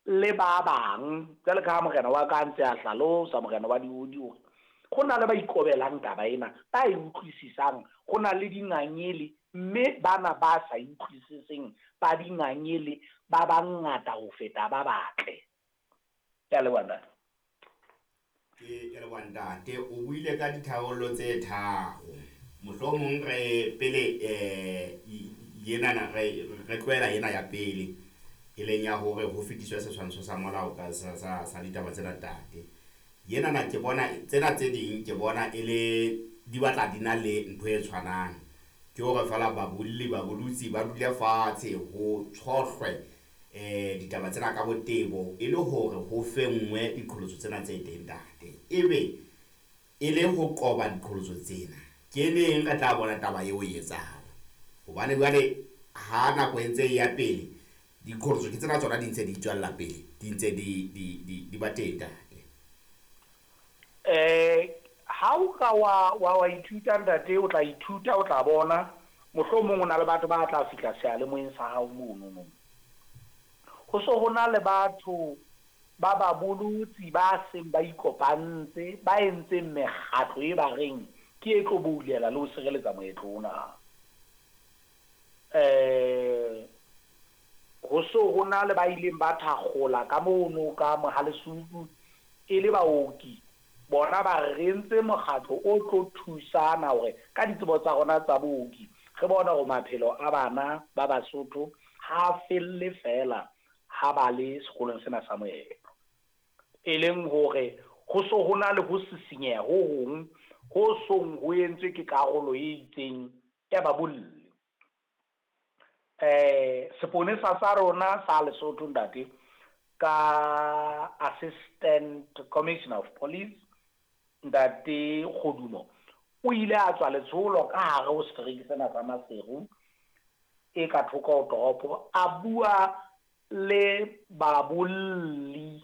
le ba bang, jwale ka ha morena wa ka a ntse a hlalosa, morena wa diodi, hore ho na le ba ikobelang taba ena, ba e utlwisisang, ho na le dingangele, mme bana ba sa e utlwisiseng ba dingangele ba bangata ho feta ba batle. Ke a leboha, ntate. Ke leboha, ntate. O buile ka ditharollo tse tharo. Mohlomong re pele yenana re tlohela ena ya pele, e leng ya hore ho fetiswe setshwantsho sa molao ka sa ditaba tsena, ntate. Yenana ke bona tsena tse ding, ke bona e le di batla di na le ntho e tshwanang, ke hore feela babolli, babolotsi ba dule fatshe, ho tshohlwe ditaba tsena ka botebo, e le hore ho fenngwe diqholotso tsena tse teng, ntate. Ebe e le ho qoba diqholotso tsena, ke neng re tla bona taba eo e etsahala? Hobane jwale ha nako e ntse e ya pele, diqholotso ke tsena tsona di ntse di tswella pele, di ntse di ba teng, ntate. Ha o ka wa ithuta, ntate, o tla ithuta, o tla bona mohlomong o na le batho ba tla fihla seyalemoyeng sa hao mono. Ho so ho na le batho ba babolotsi ba seng ba ikopantse, ba entseng mekgatlo e ba reng ke e tlo boulela le ho sireletsa moetlo ona. Ho so ho na le ba ileng ba thakgola ka mono ka Mohalesuku e le baoki, bona ba re entse mokgatlo o tlo thusana hore ka ditsebo tsa rona tsa booki re bone hore maphelo a bana ba Basotho ha felle feela ha ba le sekolong sena sa moetlo. E leng hore ho so ho na le ho sisinyeha ho hong ho song ho entswe ke karolo e itseng ya babolli. Seponesa sa rona sa Lesotho, ntate, ka Assistant Commissioner of Police, ntate Kgodumo, o ile a tswa letsholo ka hare ho setereke sena sa Maseru e ka thoko ho toropo, a bua le babolli,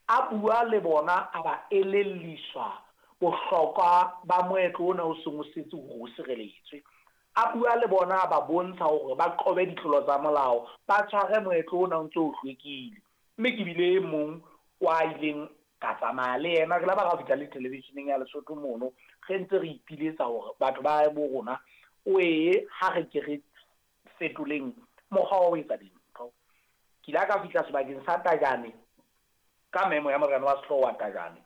a bua le bona, a ba elelliswa bohlokwa ba moetlo ona o seng o setse hore o sireletswe. A bua le bona, a ba bontsha hore ba qobe ditlolo tsa molao, ba tshware moetlo ona o ntse o hlwekile. Mme ke bile e mong wa ileng ka tsamaya le yena, re la ba ra fihla le television-eng ya Lesotho mono, re ntse re ipiletsa hore batho ba bo rona o ee ha re ke re fetoleng mokgwa wa ho etsa dintho. Ke ile ka fihla sebakeng sa Tajane ka memo ya morena wa sehlooho wa Tajane.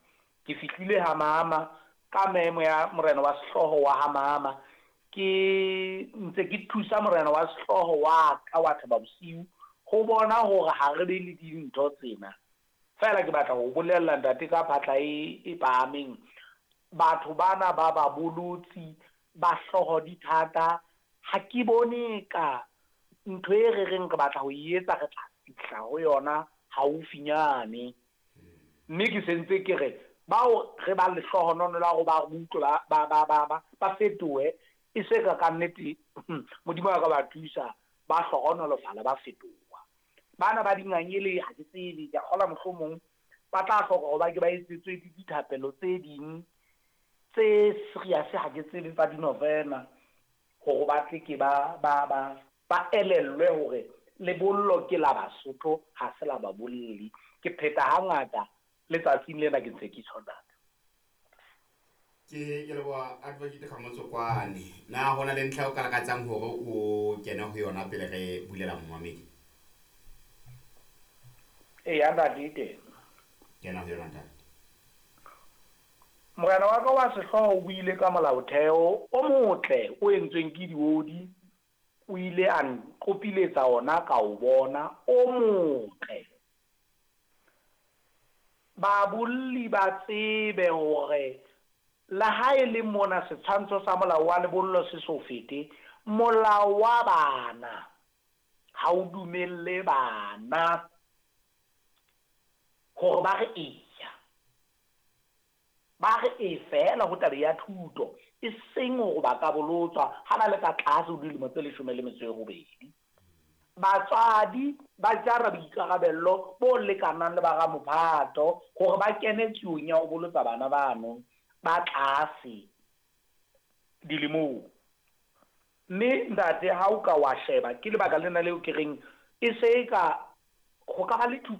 Ke fihlile ha mama ka memo ya morena wa sehlooho wa ha mama. Ke ntse ke thusa morena wa sehlooho wa ka wa Thaba Bosiu ho bona hore ha re be le dintho tsena. Feela ke batla ho bolella, ntate, ka phatla e phahameng, batho bana ba babolotsi ba hlooho di thata, ha ke bone ka ntho e re reng re batla ho e etsa re tla fihla ho yona haufinyane. Mme ke sentse ke re bao re ba lehlohonolo la hore ba utlwe, ba fetohe, e se ka nnete Modimo a ka ba thusa, ba hlohonolofala, ba fetoha. Bana ba dingangele ha ke tsebe, ke a kgolwa mohlomong ba tla hloka hore ba ke ba etsetswe dithapelo tse ding tse serious, ha ke tsebe, tsa dinovena, hore ba tle ke ba elellwe hore lebollo ke la Basotho, ha se la babolli. Ke pheta hangata letsatsing lena ke ntse ke tjho, ntate. Ke leboha, Advocate Kgamotsokwane. Na ho na le ntlha o ka lakatsang hore o kene ho yona pele re bulela momamedi? Eya, ntate, e teng. Kena ho yona, ntate. Morena wa ka wa sehlooho o buile ka molaotheo o motle o entsweng ke diodi, o ile a nqopiletsa ona ka o bona o motle. Babolli ba tsebe hore le ha e le mona setshwantsho sa molao wa lebollo se so fete, molao wa bana ha o dumelle bana hore ba re eya, ba re e feela ho taba ya thuto, e seng hore ba ka bolotswa ha ba le ka tlase ho dilemo tse 18. Batswadi ba jara boikarabello bo lekanang le ba ramophato hore ba kene tsiong ya ho bolotsa bana bano ba tlase dilemong. Mme ntate, ha o ka wa sheba, ke lebaka lena leo ke reng e se e ka ho ka ba le thupelo.